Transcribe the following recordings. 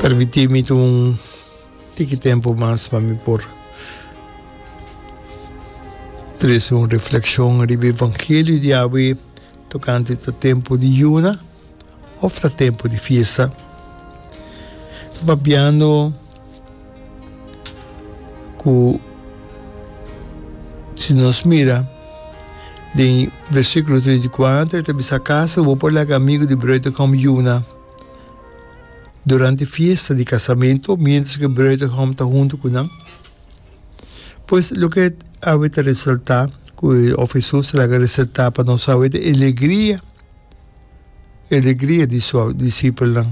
Permití mi tuma un tiki tempu mas pa mi por trese un reflekshon riba e evangelio di awe tokante ta tempu di yuna òf ta tempu di fiesta. Ta papiando ku si nos mira den versíkulo 34 e ta bisa akaso bo por laga amigu di bruidegom yuna durante fiesta di kasamentu miéntras ku e bruidegom ta huntu ku nan? Pues loke awe ta resaltá ku òf Hesus ta laga resaltá pa nos awe ta e alegria, e alegria di su disipelnan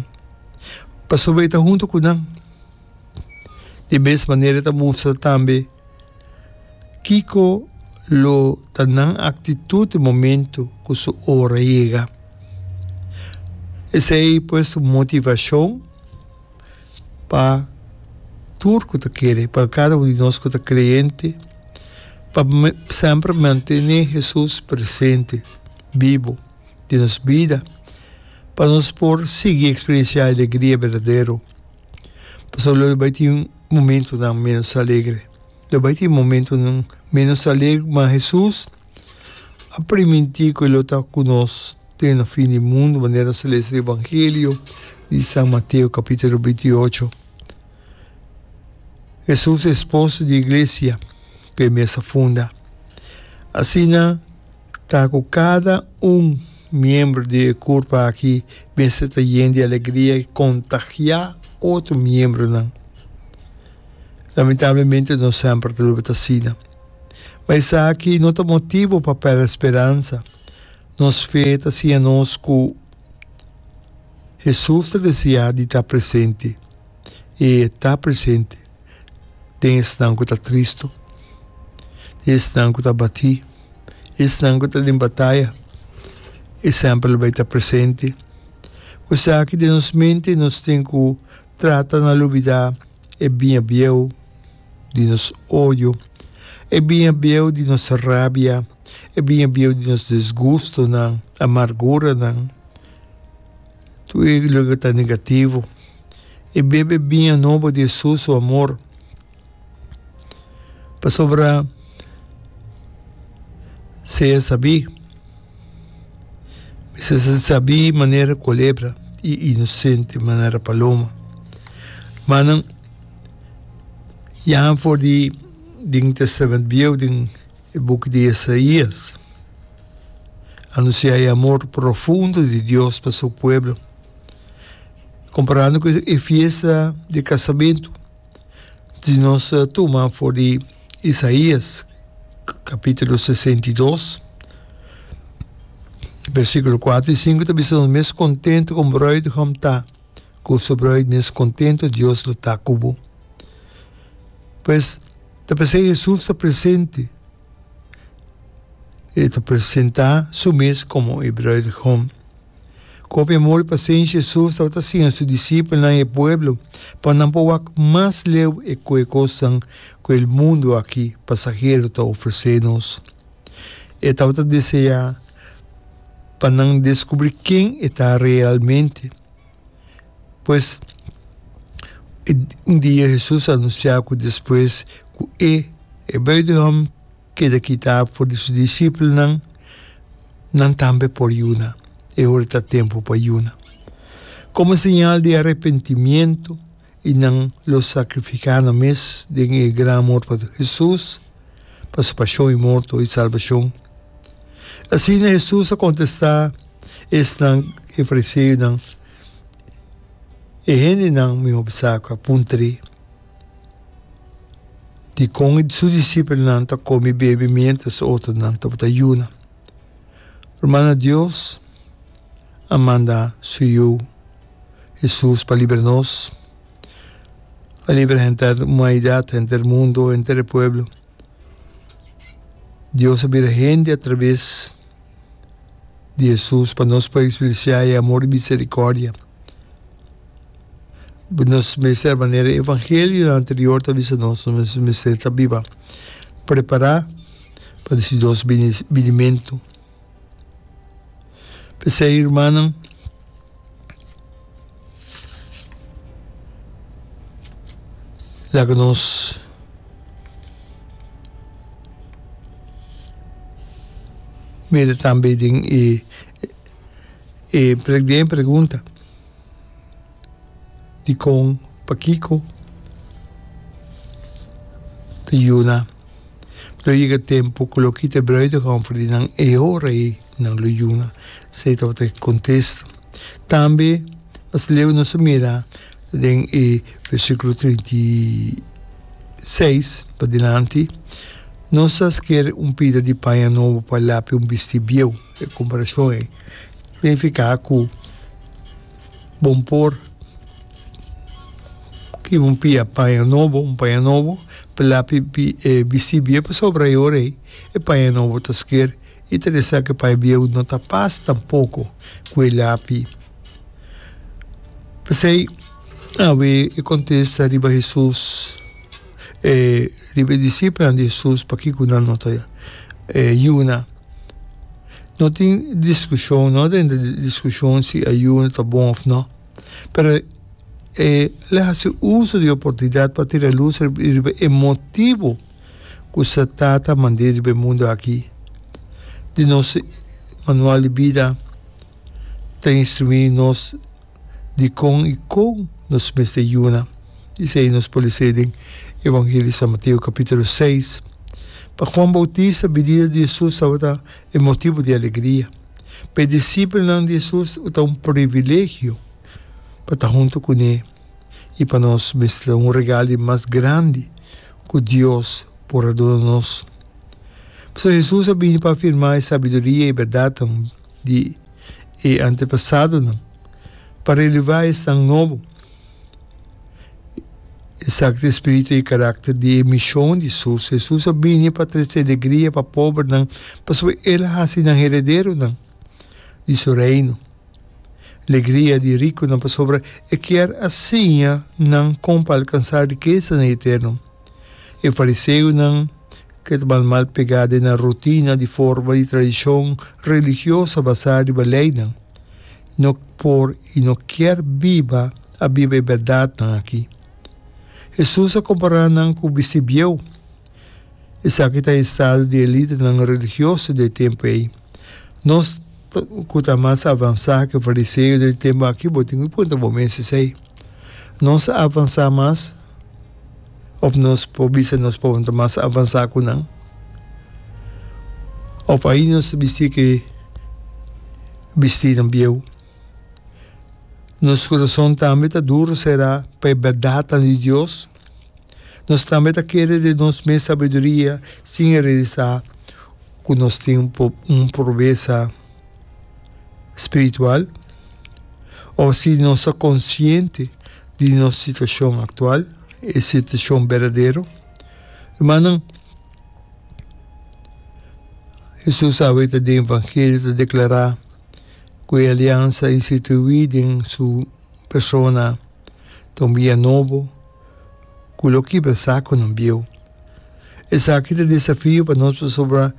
pasobra e ta huntu ku nan. Di mes manera e ta mustra tambe kiko lo ta nan aktitut e momentu ku su ora yega. Esei pues un motivashon pa tur ku ta kere, pa kada un di nos ku ta kreyente, pa semper mantené Hesus presente, bibu den nos bida, pa nos por sigui eksperensiá e alegria berdadero. Pasobra lo bai tin momentunan ménos alegre. Lo bai tin momentunan ménos alegre, ma Hesus a primintí ku e lo ta ku nos te na fin di mundu, manera nos ta lesa den Evangelio di San Mateo kapítulo 28. Hesus e esposo di iglesia ku e mes a funda. Asina ta ku kada un miembro di e kurpa aki mester ta yen di alegria i kontagiá otro miembronan. Lamentablemente no semper ta loke ta asina. Ma esaki no ta motibu pa pèrdè speransa. Nos fe ta siña nos ku Hesus ta deseá di ta presente, i e ta presente den esnan ku ta tristu, den esnan ku ta abatí, esnan ku ta den bataya. E semper lo bai ta presente. Ku esaki den nos mente nos tin ku trata na lubidá e biña bieu di nos odio, e biña bieu di nos rabia, e biña bieu di nos disgustonan, amarguranan, tur e loke ta negativo. E bebe biña nobo di Hesus su amor, pasobra sea sabí, mester ser sabí manera kolebra i inosente manera paloma. Manan ya for di den Testament Bieu, den e buki di Isaías, anunsiá e amor profundo di Dios pa su pueblo. Komparando ku e fiesta di kasamentu, si nos tuma for di Isaías kapítulo 62, versíkulo kuater i sinku ta bisa nos mes kontentu ku un bruidegom ta ku su bruid, mes kontentu Dios lo ta ku bo. Pues, ta p'esei Hesus ta presente, e ta presentá su mes komo e bruidegom. Ku hopi amor i pasenshi Hesus tabata siña su disipelnan i e pueblo pa nan por wak mas leu e ku e kosnan ku e mundu aki pasahero ta ofresé nos. E tabata deseá pa nan deskubrí ken e ta realmente. Pues, un dia Hesus a anunsiá ku despues ku e, e bruidegom, keda kitá for di su disipelnan, nan tambe por yuna. E ora ta tempu pa yuna. Komo señal di arepentimiento i nan lo sakrifiká nan mes den e gran amor pa Hesus, pa su pashon i morto i salbashon. Asina Hesus a kontestá esnan e fariseonan, E hendenan mihó bisa ku a puntr'é. Dikon su disipelnan ta kome i bebe miéntras otronan tabata yuna? Rumannan, Dios a manda su Yu, Hesus, pa libra nos, pa libra henter humanidat, henter mundu, henter e pueblo. Dios a bira hende atraves di Hesus pa nos por eksperensiá e amor i miserikòrdia. Nos mester manera e evangelionan anterior ta bisa nos, nos mester ta biba prepará pa di Dios binimentu. P'esei, rumannan, Laga nos mira tambe den e e den e pregunta dikon pakiko ta yuna. Lo yega tempu ku lo kita e bruidegom for di nan e ora ei nan lo yuna. Esei tabata e kontesta. Tambe mas leu nos a mira den e versíkulo 36 padilanti, nos ta sker un pida di paña nobo pa lapi un bistí bieu. E komparashon ei signifiká ku bon por kiba un pia paña nobo, un paña nobo, pa lapi e bistí bieu pasobra e ora ei e paña nobo ta sker i ta resa ku e paña bieu no ta pas tampoko ku e lapi. P'esei awe e kontesta riba Hesus, e riba e disipelnan di Hesus pakiko nan no ta yuna. No tin diskushon, no a drenta diskushon si ayuno ta bon òf no. Pero e la hasi uso di e oportunidat pa tira lus riba e motibu ku sa Tata mand'é riba e mundu aki. Di nos manual di bida ta instruí nos dikon i kon nos mester yuna. Esei nos por lesa den Evangelio di San Mateo kapítulo seis. Pa Juan Boutista bidida di Hesus tabata e motibu di alegria. Pa e disipelnan di Hesus ta un privilegio pa ta huntu kuné i pa nos mester ta un regal di mas grandi ku Dios por a duna nos. Pasobra Hesus a bini pa afirmá e sabiduria i bèrdatnan di e antepasadonan, pa relevá esnan nobo. Esaki ta e spiritu i karakter di e mishon di Hesus. Hesus a bini pa trese alegria pa pobernan pasobra el a hasi nan herederonan di su reino. Alegria di rikunan pasobra e kier a siña nan kon pa alkansá rikesanan eterno. E fariseonan ke ta mal mal pegá den nan rutina di forma di tradishon religioso basá riba leinan. No por i no kier biba a biba e bèrdatnan aki. Hesus a kompará nan ku bisti bieu. Esaki ta e estado di e lidernan religioso di e tempu ei. Nos ku ta mas avansá ku e fariseo den e tempu aki, bo tin ku puntra bo mes esei. Nos a avansá mas òf nos por bisa nos por ta mas avansá ku nan? Òf ainda nos ta bisti ku e bistinan bieu? Nos kurason tambe ta duru será pa e bèrdatnan di Dios? Nos tambe ta kere den nos mes sabiduria sin e realisá ku nos tin un pobresa spiritual? Òf si nos ta konsiente di nos situashon aktual, e situashon berdadero? Rumannan, Hesus awe ta den Evangelio ta deklará ku e aliansa instituí den su persona ta un bia nobo ku lo kibra sakunan bieu. Esaki ta desafio pa nos pasobra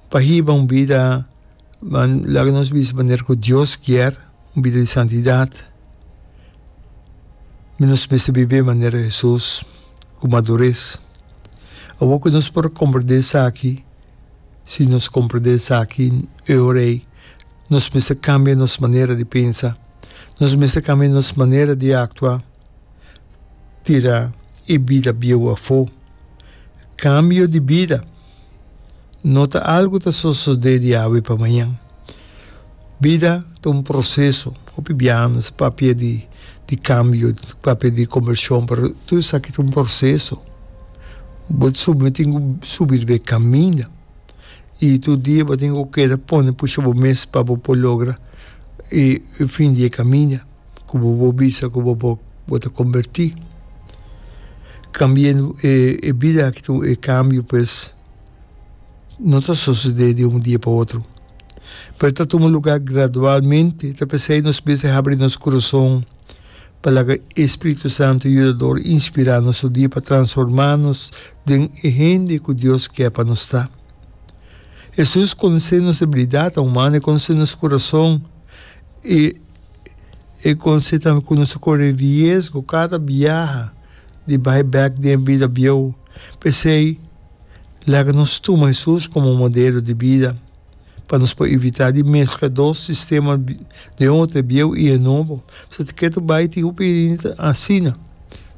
pa hiba un bida laga nos bisa manera ku Dios kier, un bida di santidat, nos mester biba manera Hesus ku madures. Awor ku nos por komprendé esaki, si nos komprendé esaki e ora ei nos mester kambia nos manera di pensa, nos mester kambia nos manera di aktua. Tira e bida bieu afó. Kambio di bida no ta algu ta sosodé di awe pa mañan. Bida ta un proseso. Hopi biaha nos ta papia di di kambio, papia di kombershon, pero tur esaki ta un proseso. Bo subi tin ku subi riba e kaminda i tur dia bo tin ku keda pone pusha bo mes pa bo por logra e fin di e kaminda. Ku bo por bisa ku bo por bo ta kombertí. Kambiendo e e bida aki ta e kambio pues no ta sosodé di un dia pa otro, pero ta tuma lugá gradualmente. Ta p'esei nos mester habri nos kurason pa laga e Spiritu Santu Yudador inspirá nos tur dia pa transformá nos den e hende ku Dios ke pa nos ta. Hesus konosé nos debilidatnan humano, e konosé nos kurason i. E konse tambe ku nos ta kore riesgo kada biaha. di bai bèk den e bida bieu. P'esei, laga nos tuma Hesus komo modelo di bida pa nos por evitá di meskla dos sistema den otro, e bieu i e nobo. Pasobra ketu bai tin hopi hende ta asina.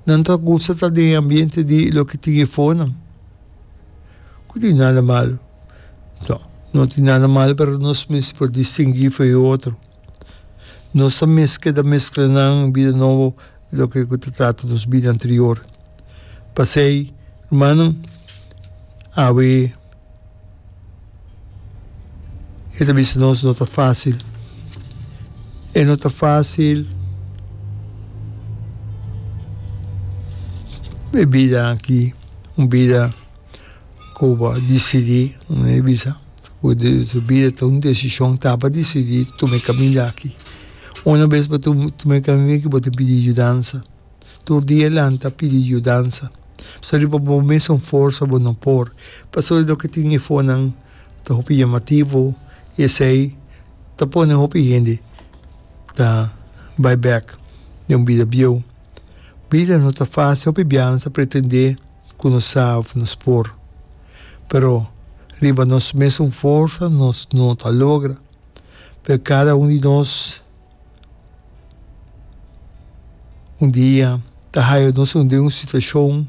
Nan ta gusta ta den e ambiente di loke tin e fonan. Ku tin nada malu. No, no tin nada malu, pero nos mester por distinguí for e otro. Nos ta mes keda meskla nan bida nobo loke ku ta trata nos bida anterior. Pasei, rumannan, awe e ta bisa nos no ta fásil. E no ta fásil e bida aki, un bida ku bo a disidí, mi a bisa. Ku su bida ta un desishon ta pa disidí tuma e kaminda aki. Una bes bo tuma e kaminda aki bo ta pidi yudansa. Tur dia lanta pidi yudansa. Pasobra riba bo mesun forsa bo no por. Pasobra loke tin efonan ta hopi yamativo i esei ta pone hopi hende ta bai bek den un bida bieu. Bida no ta fásil, hopi biaha nos ta pretendé. Ku nos sa of nos por. Pero riba nos mesun forsa nos no ta logra. Pero kada un di nos un dia ta haya nos den un situashon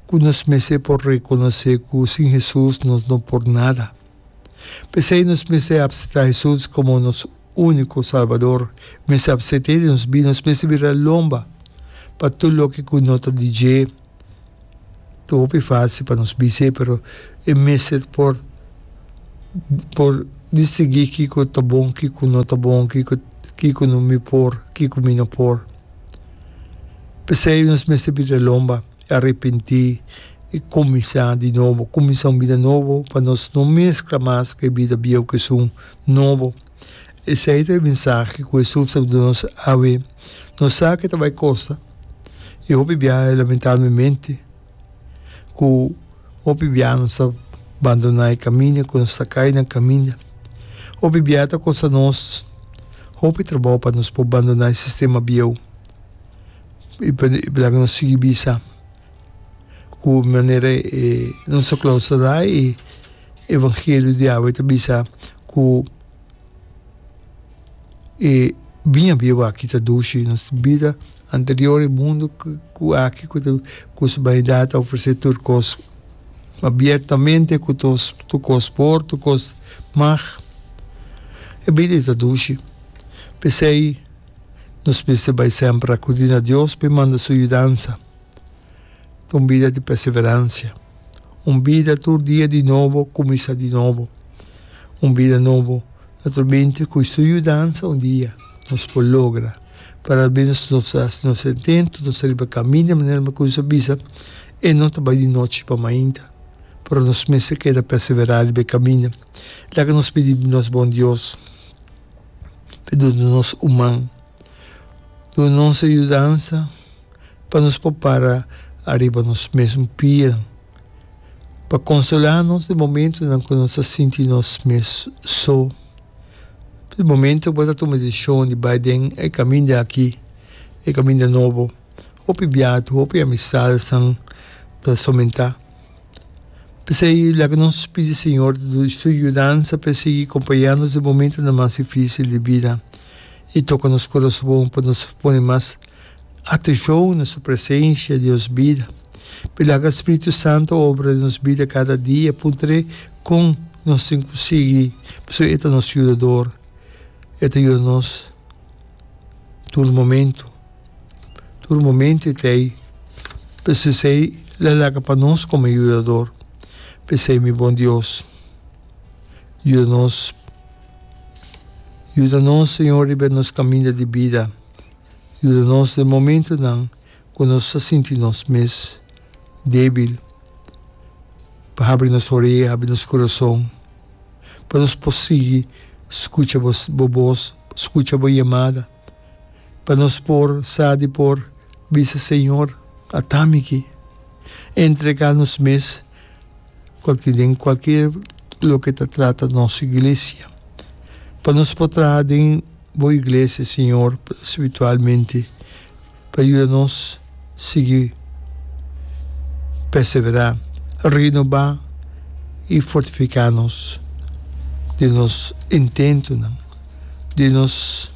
ku nos mester por rekonosé ku sin Hesus nos no por nada. P'esei nos mester apseptá Hesus komo nos úniko Salbador. Mester apsept'é den nos bida. Nos mester bira lomba pa tur loke ku no ta di dje. Ta hopi fásil pa nos bis'é, pero e mester por por distinguí kiko ta bon, kiko no ta bon, kiko kiko no mi por, kiko mi no por. P'esei nos mester bira lomba. Arepentí i kuminsá di nobo, kuminsá un bida nobo pa nos no meskla mas ku e bida bieu ku esun nobo. Esei ta e mensahe ku Hesus ta duna nos awe. Nos sa ku e ta bai kosta i hopi biaha lamentablemente ku hopi biaha nos ta bandoná e kaminda, ku nos ta kai na kaminda. Hopi biaha ta kosta nos hopi trabou pa nos por bandoná e sistema bieu. I laga nos sigui bisa ku manera e nos ta klausurá e evangelio di awe ta bisa ku e biña bieu aki ta dushi. Nos bida anterior e mundu ku aki ku ta ku su banidat ta ofresé tur kos abiertamente ku tur kos por tur kos mag e bida ei ta dushi. P'esei. Nos mester bai semper akudí na Dios pa e manda su yudansa. Ta un bida di perseveransia, un bida tur dia di nobo kuminsá di nobo, un bida nobo naturalmente ku su yudansa un dia nos por logra. Pero al menos nos ta hasi nos intento, nos ta riba kaminda manera mi kuminsá bisa, e no ta bai di nochi pa mainta, pero nos mester keda perseverá riba e kaminda. Laga nos pidi nos bon Dios. Pa duna nos un man, duna nos e yudansa pa nos por para ariba nos mesun pia, pa konsolá nos den momentunan ku nos ta sinti nos mes so. Den momento ku bo ta tuma e desishon di bai den e kaminda aki, e kaminda nobo, hopi biaha hopi amistadesnan ta somentá. P'esei laga nos pidi Señor su yudansa pa e sigui kompañá nos den momentunan mas difísil di bida i toka nos kurason pa nos pone mas atenshon na su presensia den nos bida. P'e laga Spiritu Santu obra den nos bida kada dia. Puntr'é kon nos tin ku sigui, pasobra e ta nos Yudador, e ta yuda nos tur momentu. Tur momento e ta ei. P'esei el a laga pa nos komo yudador. P'esei, mi bon Dios, yuda nos. Yuda nos, Señor, riba nos kaminda di bida. Yuda nos den momentonan ku nos ta sinti nos mes débil. Pa habri nos orea, habri nos kurason, pa nos por sigui skucha bo bos, skucha bo yamada. Pa nos por sa di por bisa Señor, ata mi aki. Entrega nos mes cualkier den cualkier loke ta trata nos iglesia. Pa nos por traha den bo iglesia, Señor, spiritualmente, pa yuda nos sigui. Perseverá, renobá i fortifiká nos den nos intentonan, den nos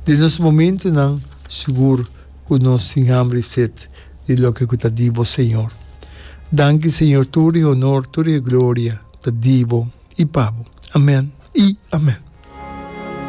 den nos momentonan sigur ku nos tin hamber i set di loke ku ta di bo, Señor. Danki, Señor, tur e honor, tur e gloria ta di bo i pa bo. Amen i amen.